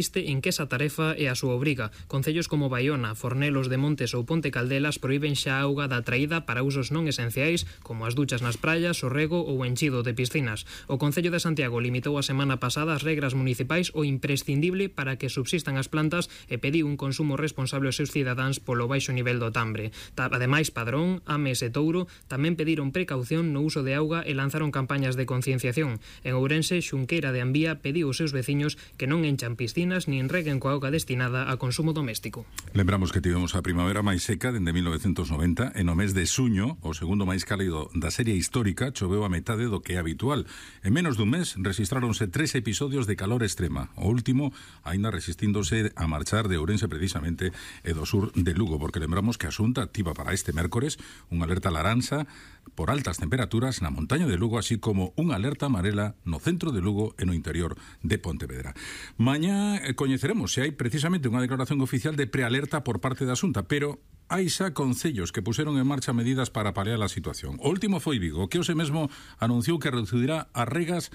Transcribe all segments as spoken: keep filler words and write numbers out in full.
Insiste en que esa tarefa é a súa obriga. Concellos como Baiona, Fornelos de Montes ou Ponte Caldelas proíben xa a auga da traída para usos non esenciais como as duchas nas praias, o rego ou o enchido de piscinas. O Concello de Santiago limitou a semana pasada as regras municipais o imprescindible para que subsistan as plantas e pediu un consumo responsable aos seus cidadáns polo baixo nivel do Tambre. Ademais, Padrón, Ames e Touro tamén pediron precaución no uso de auga e lanzaron campañas de concienciación. En Ourense, Xunqueira de Ambía pediu aos seus veciños que non enchan piscinas nin reguen coa auga destinada a consumo doméstico. Lembramos que tivemos a primavera máis seca dende mil novecentos noventa e no mes de suño, o segundo máis cálido da serie histórica, choveu a metade do que é habitual. En menos dun mes rexistráronse tres episodios de calor extrema, o último aínda resistíndose a marchar de Ourense precisamente e do sur de Lugo, porque lembramos que a Xunta activa para este mércores unha alerta laranxa por altas temperaturas na montaña de Lugo, así como unha alerta amarela no centro de Lugo e no interior de Pontevedra. Mañá coñeceremos se hai precisamente unha declaración oficial de prealerta por parte da Xunta, pero hai xa concellos que puseron en marcha medidas para paliar a situación. O último foi Vigo, que hoxe mesmo anunciou que reducirá as regas,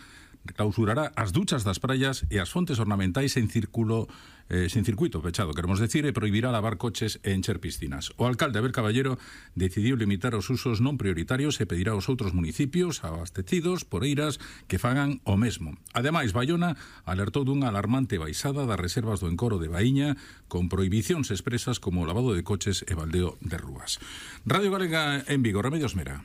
clausurará as duchas das praias e as fontes ornamentais en círculo eh, sin circuito pechado, queremos decir, e prohibirá lavar coches e encher piscinas. O alcalde Abel Caballero decidiu limitar os usos non prioritarios e pedirá aos outros municipios abastecidos por eiras que fagan o mesmo. Ademais, Baiona alertou dunha alarmante baixada das reservas do encoro de Baíña con prohibicións expresas como o lavado de coches e baldeo de rúas. Radio Galega en Vigo, Remedios Mera.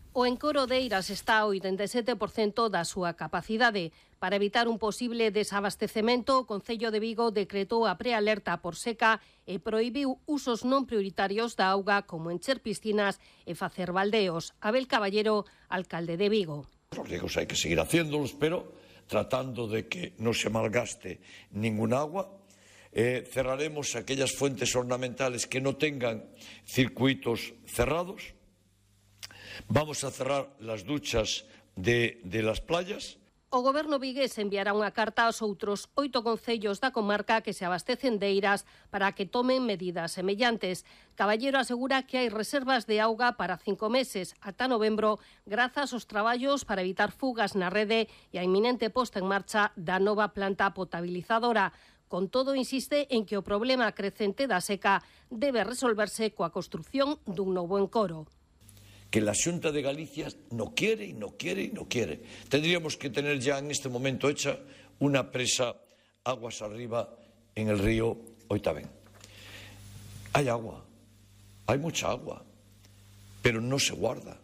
O encoro de Eiras está ao oitenta e sete por cento da súa capacidade. Para evitar un posible desabastecemento, o Concello de Vigo decretou a prealerta por seca e prohibiu usos non prioritarios da auga como encher piscinas e facer baldeos. Abel Caballero, alcalde de Vigo. Os riegos hai que seguir haciéndolos, pero tratando de que non se malgaste ninguna agua. Eh, cerraremos aquellas fuentes ornamentales que no tengan circuitos cerrados. Vamos a cerrar las duchas de, de las playas. O Goberno vigués enviará unha carta aos outros oito concellos da comarca que se abastecen de eiras para que tomen medidas semellantes. Caballero asegura que hai reservas de auga para cinco meses, ata novembro, grazas aos traballos para evitar fugas na rede e a inminente posta en marcha da nova planta potabilizadora. Con todo, insiste en que o problema crecente da seca debe resolverse coa construción dun novo encoro. Que la Xunta de Galicia no quiere y no quiere y no quiere. Tendríamos que tener ya en este momento hecha una presa aguas arriba en el río Oitavén. Hay agua, hay mucha agua, pero no se guarda.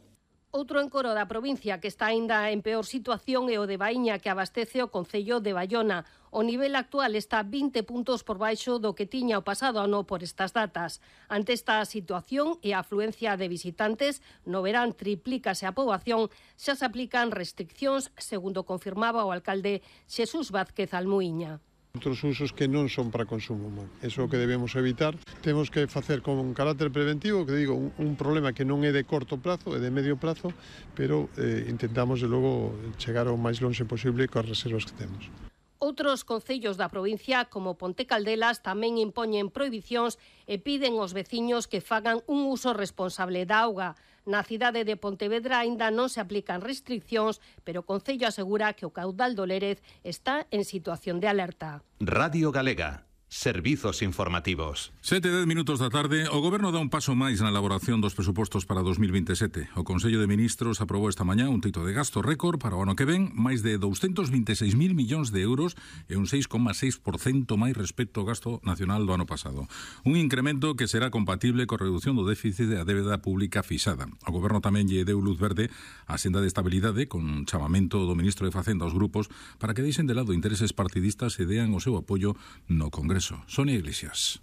Outro encoro da provincia que está aínda en peor situación é o de Baíña, que abastece o Concello de Baiona. O nivel actual está vinte puntos por baixo do que tiña o pasado ano por estas datas. Ante esta situación e a afluencia de visitantes, no verán triplícase a poboación, xa se aplican restriccións, segundo confirmaba o alcalde Xesús Vázquez Almuíña. Outros usos que non son para consumo humano. Eso é o que debemos evitar. Temos que facer con un carácter preventivo, que digo, un, un problema que non é de corto prazo, é de medio prazo, pero eh, intentamos, de logo, chegar ao máis longe posible coas reservas que temos. Outros concellos da provincia, como Ponte Caldelas, tamén impoñen prohibicións e piden aos veciños que fagan un uso responsable da auga. Na cidade de Pontevedra aínda non se aplican restriccións, pero o Concello asegura que o caudal do Lérez está en situación de alerta. Radio Galega. Servizos informativos. Sete e dez minutos da tarde, o Goberno dá un paso máis na elaboración dos presupostos para dos mil vinte e sete. O Consello de Ministros aprobou esta mañá un teito de gasto récord para o ano que ven, máis de douscentos vinte e seis mil millóns de euros e un seis coma seis por cento máis respecto ao gasto nacional do ano pasado. Un incremento que será compatible coa reducción do déficit da débeda pública fixada. O Goberno tamén lle deu luz verde á senda de estabilidade con chamamento do Ministro de Facenda aos grupos para que deixen de lado intereses partidistas e dean o seu apoio no Congreso. Sonia Iglesias.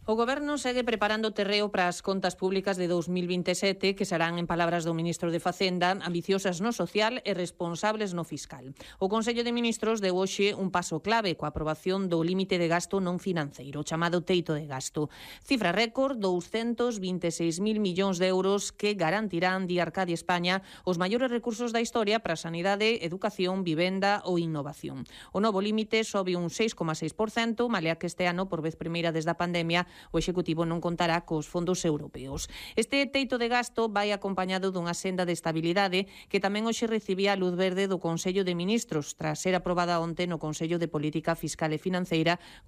O Goberno segue preparando terreo para as contas públicas de dos mil vinte e sete, que serán, en palabras do ministro de Facenda, ambiciosas no social e responsables no fiscal. O Consello de Ministros deu hoxe un paso clave coa aprobación do límite de gasto non financeiro, chamado teito de gasto. Cifra récord, douscentos vinte e seis mil millóns de euros que garantirán, di Arcadia España, os maiores recursos da historia para a sanidade, educación, vivenda ou innovación. O novo límite sobe un seis coma seis por cento, malea que este ano, por vez primeira desde a pandemia, o Executivo non contará cos fondos europeos. Este teito de gasto vai acompañado dunha senda de estabilidade que tamén hoxe recibía a luz verde do Consello de Ministros tras ser aprobada onte no Consello de Política Fiscal e Financeira